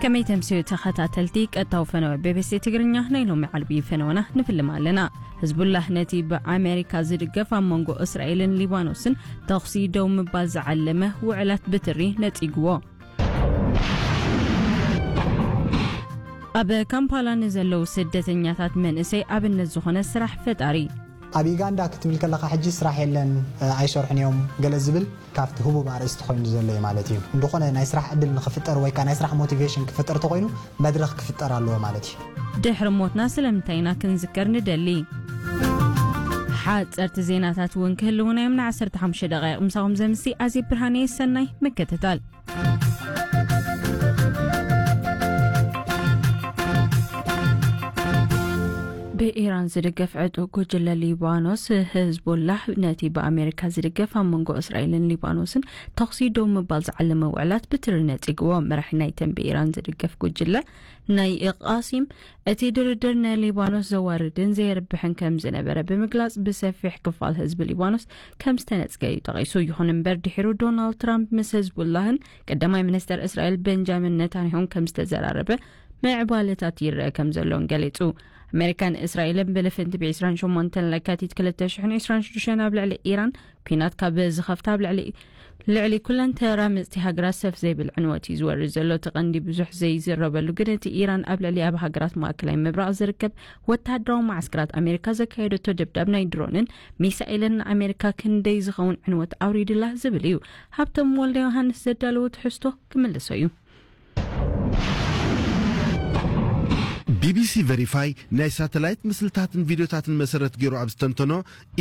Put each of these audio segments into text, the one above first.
ከመይ ተምስዩ ተኸታተልቲ ቀጥታዊ ፈነወ ቢ ቢ ሲ ትግርኛ። ናይ ሎሚ ዓርቢ ፈነወና ንፍልም ኣለና። ህዝቡላህ ነቲ ብኣሜሪካ ዝድገፍ ኣብ መንጎ እስራኤልን ሊባኖስን ተኹሲ ደው ምባል ዝዓለመ ውዕላት ብትሪ ነጺግዎ። ኣብ ካምፓላ ንዘለዉ ስደተኛታት መንእሰይ ኣብነት ዝኾነ ስራሕ ፈጣሪ። ኣብ ዩጋንዳ ክትብል ከለኻ ሕጂ ስራሕ የለን፣ ኣይሰርሑን እዮም ገለ ዝብል ካብቲ ህቡብ ኣርእስቲ ኮይኑ ዘሎ እዩ ማለት እዩ። እንድኾነ ናይ ስራሕ ዕድል ንኽፍጠር ወይ ከዓ ናይ ስራሕ ሞቲቬሽን ክፍጠር ተኾይኑ መድረኽ ክፍጠር ኣለዎ ማለት እዩ። ድሕሪ ሞትና ስለምንታይ ኢና ክንዝከር ንደሊ? ሓፀርቲ ዜናታት እውን ክህልውና እዮም። ን15 ደቃይቕ ምሳኹም ዘምሲ ኣዜ ብርሃነ። ሰናይ ምክትታል። ብኢራን ዝድገፍ ዕጡቕ ጉጅለ ሊባኖስ ህዝቡላህ ነቲ ብኣሜሪካ ዝድገፍ ኣብ መንጎ እስራኤልን ሊባኖስን ተኹሲ ደው ምባል ዝዓለመ ውዕላት ብትሪ ነጺግዎ። መራሒ ናይተን ብኢራን ዝድገፍ ጉጅለ ናይ ቃሲም እቲ ድርድር ንሊባኖስ ዘዋርድን ዘየርብሕን ከም ዝነበረ ብምግላጽ ብሰፊሕ ክፋል ህዝቢ ሊባኖስ ከም ዝተነጽገ እዩ ጠቒሱ። ይኹን እምበር ድሒሩ ዶናልድ ትራምፕ ምስ ህዝቡላህን ቀዳማይ ሚኒስተር እስራኤል ቤንጃሚን ነታንያሁን ከም ዝተዘራረበ ምዕባለታት ይረአ ከም ዘሎን ገሊጹ። ኣሜሪካን እስራኤልን ብልፍንቲ ብ28 ለካቲት 2026 ኣብ ልዕሊ ኢራን ኲናት ካብ ዝኸፍታ ኣብ ልዕሊ ልዕሊ ኩለን ተራመጽቲ ሃገራት ሰፍ ዘይብል ዕንወት እዩ ዝወርድ ዘሎ። እቲ ቀንዲ ብዙሕ ዘይዝረበሉ ግን እቲ ኢራን ኣብ ልዕሊ ኣብ ሃገራት ማእከላይ ምብራቕ ዝርከብ ወተሃደራዊ መዓስከራት ኣሜሪካ ዘካየደቶ ደብዳብ ናይ ድሮንን ሚሳኤልን ንኣሜሪካ ክንደይ ዝኸውን ዕንወት ኣውሪድላ ዝብል እዩ። ሃብቶም ወልደ ዮሃንስ ዘዳለዎ ትሕዝቶ ክምልሶ እዩ። ቢ ቢ ሲ ቨሪፋይ ናይ ሳተላይት ምስልታትን ቪድዮታትን መሰረት ገይሩ ኣብ ዝተንተኖ፣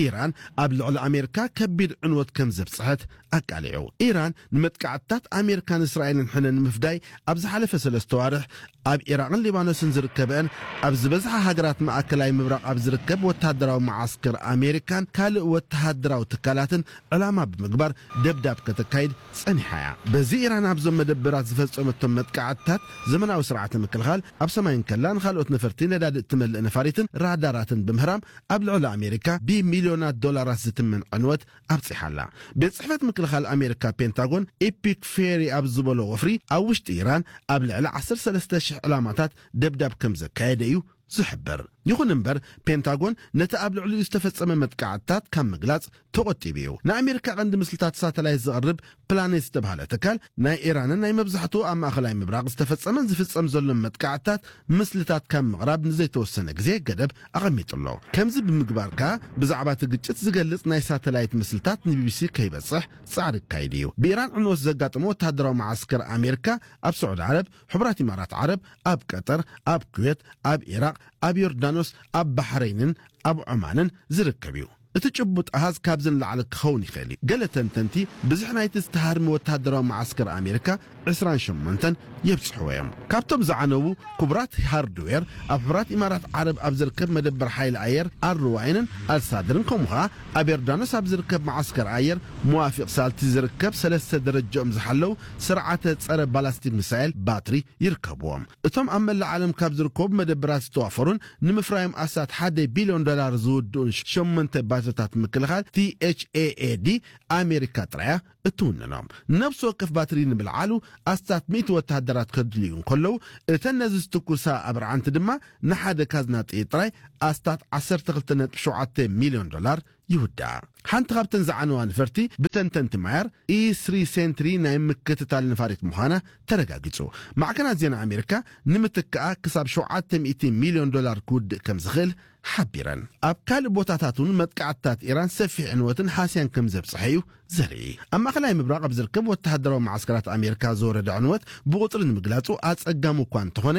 ኢራን ኣብ ልዕሊ ኣሜሪካ ከቢድ ዕንወት ከም ዘብጽሐት ኣቃሊዑ። ኢራን ንመጥቃዕትታት ኣሜሪካን እስራኤልን ሕነ ንምፍዳይ ኣብ ዝሓለፈ ሰለስተ ዋርሕ ኣብ ኢራቕን ሊባኖስን ዝርከበአን ኣብ ዝበዝሓ ሃገራት ማእከላይ ምብራቕ ኣብ ዝርከብ ወተሃደራዊ መዓስከር ኣሜሪካን ካልእ ወተሃደራዊ ትካላትን ዕላማ ብምግባር ደብዳብ ከተካይድ ጸኒሓ እያ። በዚ ኢራን ኣብዞም መደበራት ዝፈጸመቶም መጥቃዕትታት ዘመናዊ ስርዓተ ምክልኻል ኣብ ሰማይ እንከላ ንኻልኦት ነፈርቲ ነዳዲ እትመልእ ነፋሪትን ራዳራትን ብምህራም ኣብ ልዕሊ ኣሜሪካ ብሚልዮናት ዶላራት ዝትመን ዕንወት ኣብጺሓ ኣላ። ቤት ጽሕፈት ምክልኻል ኣሜሪካ ፔንታጎን ኤፒክ ፌሪ ኣብ ዝበሎ ወፍሪ ኣብ ውሽጢ ኢራን ኣብ ልዕሊ 13,000 ዕላማታት ደብዳብ ከም ዘካየደ እዩ ዝሕብር። ይኹን እምበር ፔንታጎን ነቲ ኣብ ልዕሊኡ ዝተፈጸመ መጥቃዕትታት ካብ ምግላጽ ተቖጢቡ እዩ። ንኣሜሪካ ቀንዲ ምስልታት ሳተላይት ዘቕርብ ፕላኔት ዝተባህለ ትካል ናይ ኢራንን ናይ መብዛሕትኡ ኣብ ማእኸላይ ምብራቕ ዝተፈጸመን ዝፍጸም ዘሎን መጥቃዕትታት ምስልታት ካብ ምቕራብ ንዘይተወሰነ ግዜ ገደብ ኣቐሚጡ ኣሎ። ከምዚ ብምግባር ከኣ ብዛዕባ እቲ ግጭት ዝገልጽ ናይ ሳተላይት ምስልታት ንቢ ቢ ሲ ከይበጽሕ ጻዕሪ ክካይድ እዩ። ብኢራን ዕንወት ዘጋጠመ ወተሃደራዊ መዓስከር ኣሜሪካ ኣብ ስዑዲ ዓረብ፣ ሕቡራት ኢማራት ዓረብ፣ ኣብ ቀጠር፣ ኣብ ኩዌት፣ ኣብ ኢራቕ፣ ኣብ ዮርዳኖስ፣ ኣብ ባሕረይንን ኣብ ዖማንን ዝርከብ እዩ። እቲ ጭቡጥ ኣሃዝ ካብዚ ንላዕሊ ክኸውን ይኽእል እዩ። ገለ ተንተንቲ ብዝሒ ናይቲ ዝተሃርመ ወተሃደራዊ መዓስከር ኣሜሪካ 28 የብጽሕዎ እዮም። ካብቶም ዝዓነዉ ክቡራት ሃርድዌር፣ ኣብ ሕቡራት ኢማራት ዓረብ ኣብ ዝርከብ መደበር ሓይሊ ኣየር ኣርዋይንን ኣልሳድርን፣ ከምኡ ኸኣ ኣብ ዮርዳኖስ ኣብ ዝርከብ መዓስከር ኣየር ሙዋፊቕ ሳልቲ ዝርከብ ሰለስተ ደረጃኦም ዝሓለዉ ስርዓተ ጸረ ባላስቲክ ሚሳኤል ባትሪ ይርከብዎም። እቶም ኣብ መላእ ዓለም ካብ ዝርከቡ መደበራት ዝተዋፈሩን ንምፍራዮም ኣስታት ሓደ ቢልዮን ዶላር ዝውድኡን ሸሞንተ ባትሪታት ምክልኻል ቲ ኤች ኤ ኤ ዲ ኣሜሪካ ጥራያ እትውንኖም። ነፍሲ ወከፍ ባትሪ ንምልዓሉ ኣስታት ሚእቲ ወተሃደራት ከድልዩ እንከለዉ፣ እተን ነዚ ዝትኩሳ ኣብርዓንቲ ድማ ንሓደ ካዝና ጥይት ጥራይ ኣስታት 12.7 ሚልዮን ዶላር ይውድኣ። ሓንቲ ካብተን ዝዓነዋ ነፈርቲ ብተንተንቲ ማያር ኢ ስሪ ሴንትሪ ናይ ምክትታል ነፋሪት ምዃና ተረጋጊጹ። ማዕከናት ዜና ኣሜሪካ ንምትክኣ ክሳብ 700 ሚልዮን ዶላር ክውድእ ከም ዝኽእል ሓቢረን። ኣብ ካልእ ቦታታት እውን መጥቃዕትታት ኢራን ሰፊሕ ዕንወትን ሃስያን ከም ዘብጽሐ እዩ ዘርኢ። ኣብ ማእከላይ ምብራቕ ኣብ ዝርከብ ወተሃደራዊ መዓስከራት ኣሜሪካ ዝወረደ ዕንወት ብቑጽሪ ንምግላጹ ኣጸጋሚ እኳ እንተኾነ፣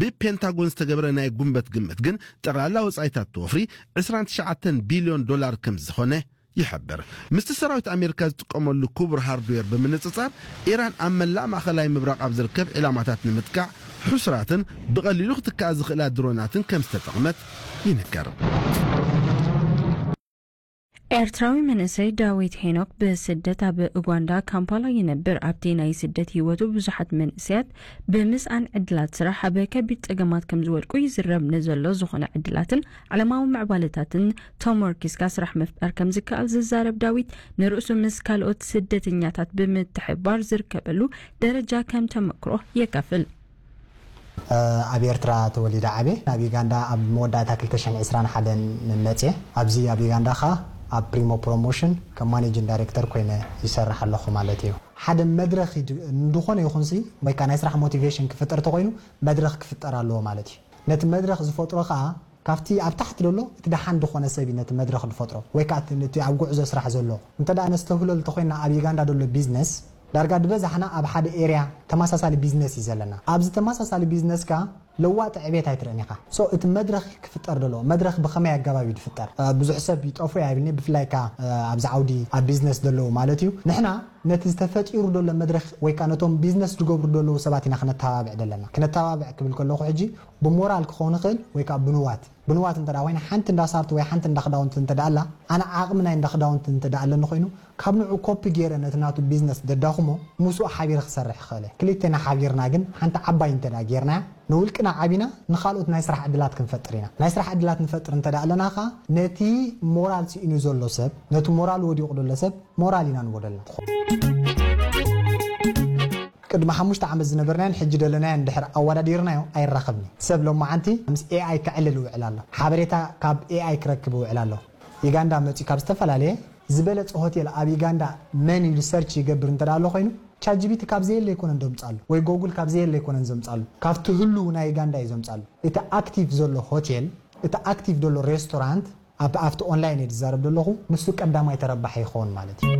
ብፔንታጎን ዝተገብረ ናይ ጉንበት ግምት ግን ጠቕላላ ወጻኢታት ወፍሪ 29 ቢልዮን ዶላር ከም ዝኾነ ይሕብር። ምስቲ ሰራዊት ኣሜሪካ ዝጥቀመሉ ክቡር ሃርድዌር ብምንጽጻር፣ ኢራን ኣብ መላእ ማእከላይ ምብራቕ ኣብ ዝርከብ ዒላማታት ንምጥቃዕ ሕሱራትን ብቐሊሉ ክትከኣ ዝኽእላ ድሮናትን ከም ዝተጠቕመት ይንገር። ኤርትራዊ መንእሰይ ዳዊት ሄኖክ ብስደት ኣብ ኡጋንዳ ካምፓላ ይነብር። ኣብቲ ናይ ስደት ህይወቱ ብዙሓት መንእሰያት ብምስኣን ዕድላት ስራሕ ኣብ ከቢድ ጸገማት ከም ዝወድቁ ይዝረብ። ንዘሎ ዝኾነ ዕድላትን ዓለማዊ ምዕባለታትን ተሞርኪስካ ስራሕ ምፍጣር ከም ዝከኣል ዝዛረብ ዳዊት፣ ንርእሱ ምስ ካልኦት ስደተኛታት ብምትሕብባር ዝርከበሉ ደረጃ ከም ተመክሮ የካፍል። ኣብ ኤርትራ ተወሊደ ዓብየ፣ ናብ ዩጋንዳ ኣብ መወዳእታ ክልተ ሽሕን ዕስራን ሓደን መፅየ። ኣብዚ ኣብ ዩጋንዳ ኸዓ ኣብ ፕሪሞ ፕሮሞሽን ከም ማኔጂንግ ዳይሬክተር ኮይነ ይሰርሕ ኣለኹ ማለት እዩ። ሓደ መድረኽ ይድ- እንድኾነ ይኹንሲ ወይ ከዓ ናይ ስራሕ ሞቲቬሽን ክፍጠር ተኾይኑ መድረኽ ክፍጠር ኣለዎ ማለት እዩ። ነቲ መድረኽ ዝፈጥሮ ኸዓ ካብቲ ኣብ ታሕቲ ዘሎ እቲ ደሓን ዝኾነ ሰብ እዩ ነቲ መድረኽ ዝፈጥሮ ወይ ከዓ እቲ- ነቲ ኣብ ጉዕዞ ስራሕ ዘሎ። እንተ ደኣ ነስተብህለሉ ተኾይንና ኣብ ዩጋንዳ ዘሎ ቢዝነስ ዳርጋ ዝበዛሕና ኣብ ሓደ ኤርያ ተመሳሳሊ ቢዝነስ እዩ ዘለና። ኣብዚ ተመሳሳሊ ቢዝነስ ከኣ ለዋጢ ዕቤት ኣይትርእን ኢኻ። So እቲ መድረኽ ክፍጠር ደሎ መድረኽ ብኸመይ ኣገባብ እዩ ዝፍጠር? ብዙሕ ሰብ ይጠፉ እያ ይብልኒ፣ ብፍላይ ከኣ ኣብዚ ዓውዲ ኣብ ቢዝነስ ዘለዉ ማለት እዩ። ንሕና ነቲ ዝተፈጢሩ ደሎ መድረኽ ወይ ከኣ ነቶም ቢዝነስ ዝገብሩ ደለዉ ሰባት ኢና ክነተባብዕ ደለና። ክነተባብዕ ክብል ከለኹ ሕጂ ብሞራል ክኸውን ይኽእል ወይ ከኣ ብንዋት ብንዋት እንተ ኮይና ሓንቲ እንዳ ሳርት ወይ ሓንቲ እንዳ ክዳውንቲ እንተ ኣላ ኣነ ዓቕሚ ናይ እንዳ ክዳውንቲ እንተ ኣለኒ ኮይኑ ካብ ንዑ ኮፒ ገይረ ነቲ ናቱ ቢዝነስ ደዳኹሞ ምስኡ ሓቢረ ክሰርሕ ይኽእል እየ። ክልቴና ሓቢርና ግን ሓንቲ ዓባይ እንተ ጌርናያ ንውልቅና ዓቢና ንኻልኦት ናይ ስራሕ ዕድላት ክንፈጥር ኢና። ናይ ስራሕ ዕድላት ንፈጥር እንተ ኣለና ኸዓ ነቲ ሞራል ስኢኑ ዘሎ ሰብ ነቲ ሞራል ወዲቑ ዘሎ ሰብ ሞራል ኢና ንቦደልና። ቅድሚ ሓሙሽተ ዓመት ዝነበርናዮን ሕጂ ዘለናዮን ድሕር ኣወዳዲርናዮ ኣይራኸብን እዩ። ሰብ ሎማዓንቲ ምስ ኤኣይ ከዕልል ይውዕል ኣሎ። ሓበሬታ ካብ ኤኣይ ክረክብ ይውዕል ኣሎ። ዩጋንዳ መፂኡ ካብ ዝተፈላለየ ዝበለፀ ሆቴል ኣብ ዩጋንዳ መን ኢሉ ሰርች ይገብር እንተ ኣሎ ኮይኑ ቻትጂቢቲ ካብ ዘየለ ኣይኮነን ዘምፃሉ ወይ ጎጉል ካብ ዘየለ ኣይኮነን ዘምፃሉ። ካብቲ ህሉው ናይ ዩጋንዳ እዩ ዘምፃሉ። እቲ ኣክቲቭ ዘሎ ሆቴል እቲ ኣክቲቭ ዘሎ ሬስቶራንት ኣብ ኣብቲ ኦንላይን እየ ዝዛረብ ዘለኹ ንሱ ቀዳማይ ተረባሒ ይኸውን ማለት እዩ።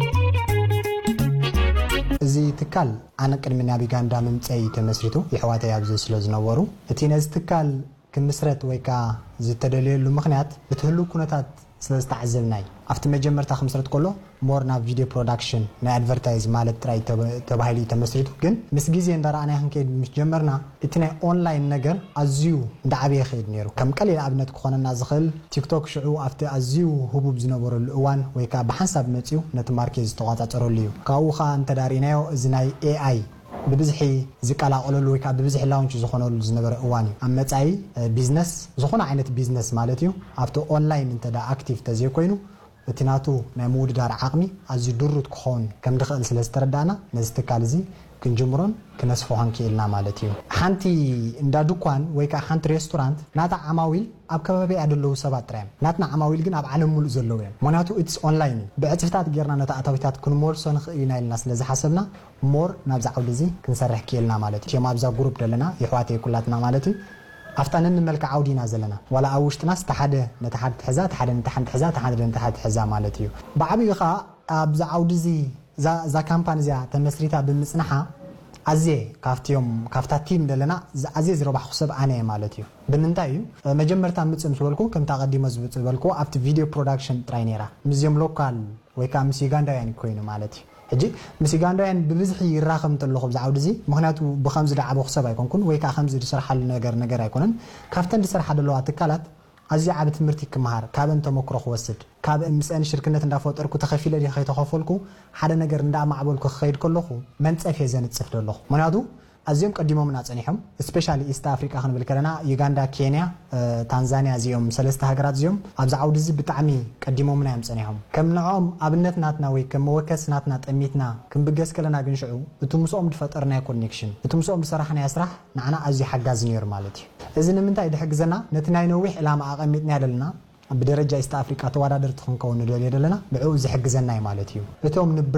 እዚ ትካል ኣነ ቅድሚ ናብ ዩጋንዳ ምምፀይ ተመስሪቱ ይሕዋተይ ኣብዚ ስለ ዝነበሩ እቲ ነዚ ትካል ክምስረት ወይ ከዓ ዝተደለየሉ ምክንያት እቲ ህሉው ኩነታት ስለ ዝተዓዘብና እዩ። ኣብቲ መጀመርታ ክምስረት ከሎ ሞር ናብ ቪድዮ ፕሮዳክሽን ናይ ኣድቨርታይዝ ማለት ጥራይ ተባሂሉ እዩ ተመስሪቱ። ግን ምስ ግዜ እንዳረኣናዮ ክንከይድ ምስ ጀመርና እቲ ናይ ኦንላይን ነገር ኣዝዩ እንዳዓበየ ይኸይድ ነይሩ። ከም ቀሊል ኣብነት ክኾነና ዝኽእል ቲክቶክ ሽዑ ኣብቲ ኣዝዩ ህቡብ ዝነበረሉ እዋን ወይ ከዓ ብሓንሳብ መፅዩ ነቲ ማርኬት ዝተቋፃፀረሉ እዩ። ካብኡ ከዓ እንተዳሪናዮ እዚ ናይ ኤኣይ ብብዝሒ ዝቀላቀለሉ ወይ ከዓ ብብዝሒ ላውንች ዝኾነሉ ዝነበረ እዋን እዩ። ኣብ መፃኢ ቢዝነስ ዝኾነ ዓይነት ቢዝነስ ማለት እዩ ኣብቲ ኦንላይን እንተ ኣክቲቭ ተዘይኮይኑ እቲ ናቱ ናይ ምውድዳር ዓቕሚ ኣዝዩ ድሩት ክኸውን ከም ድኽእል ስለ ዝተረዳእና ነዚ ትካል እዚ ክንጅምሮን ክነስፍሖን ክኢልና ማለት እዩ። ሓንቲ እንዳ ድኳን ወይ ከዓ ሓንቲ ሬስቶራንት ናታ ዓማዊል ኣብ ከባቢኣ ዘለዉ ሰባት ጥራይ እዮም። ናትና ዓማዊል ግን ኣብ ዓለም ሙሉእ ዘለዉ እዮም። ምክንያቱ it's online እዩ። ብዕፅፍታት ጌርና ነቲ ኣታዊታት ክንመልሶ ንኽእል ኢና ኢልና ስለ ዝሓሰብና ሞር ናብዚ ዓውዲ እዚ ክንሰርሕ ክኢልና ማለት እዩ። እቲኦም ኣብዛ ግሩፕ ዘለና ይሕዋተይ ኩላትና ማለት እዩ። ኣብታ ነንመልክዕ ዓውዲ ኢና ዘለና። ዋላ ኣብ ውሽጥናስ እቲ ሓደ ነቲ ሓደ ትሕዛ፣ እቲ ሓደ ነቲ ሓንቲ ትሕዛ፣ እቲ ሓደ ነቲ ሓደ ትሕዛ ማለት እዩ። ብዓብዩ ኸዓ ኣብዚ ዓውዲ እዚ እዛ እዛ ካምፓኒ እዚኣ ተመስሪታ ብምፅንሓ ኣዝየ ካብቲኦም ካብታ ቲም ዘለና ኣዝየ ዝረባሕኩ ሰብ ኣነ እየ ማለት እዩ። ብምንታይ እዩ? መጀመርታ ምፅእ ምስ በልኩ ከምቲ ኣቐዲሞ ዝበልኩ ኣብቲ ቪድዮ ፕሮዳክሽን ጥራይ ነይራ ምስዚኦም ሎካል ወይ ከዓ ምስ ዩጋንዳውያን ኮይኑ ማለት እዩ። ሕጂ ምስ ዩጋንዳውያን ብብዝሒ ይራኸብ እንተለኹ ብዚ ዓውዲ እዚ ምክንያቱ ብከምዚ ዝዓበኹ ሰብ ኣይኮንኩን ወይ ከዓ ከምዚ ዝሰርሓሉ ነገር ነገር ኣይኮነን። ካብተን ዝሰርሓ ዘለዋ ትካላት ኣዝዩ ዓቢ ትምህርቲ ክመሃር ካብን ተመክሮ ክወስድ ካብ ምስአን ሽርክነት እንዳፈጠርኩ ተኸፊለ ድየ ከይተኸፈልኩ ሓደ ነገር እንዳማዕበልኩ ክኸይድ ከለኹ መንፀፍ እየ ዘንፅፍ ዘለኹ። ምክንያቱ ኣዝዮም ቀዲሞምና ፀኒሖም especially ኢስት ኣፍሪቃ ክንብል ከለና ዩጋንዳ፣ ኬንያ፣ ታንዛንያ እዚኦም ሰለስተ ሃገራት እዚኦም ኣብዚ ዓውዲ እዚ ብጣዕሚ ቀዲሞምና እዮም ፀኒሖም። ከም ንዕኦም ኣብነት ናትና ወይ ከም መወከሲ ናትና ጠሚትና ክንብገስ ከለና ግን ሽዑ እቲ ምስኦም ዝፈጠርናዮ ኮኔክሽን እቲ ምስኦም ዝሰራሕናዮ ስራሕ ንዓና ኣዝዩ ሓጋዚ ነይሩ ማለት እዩ። እዚ ንምንታይ ድሕግዘና ነቲ ናይ ነዊሕ ዕላማ ኣቐሚጥናዮ ዘለና ብደረጃ ኢስት ኣፍሪቃ ተወዳደርቲ ክንከውን ንደልዮ ዘለና ብዕኡ ዝሕግዘና እዩ ማለት እዩ። እቶም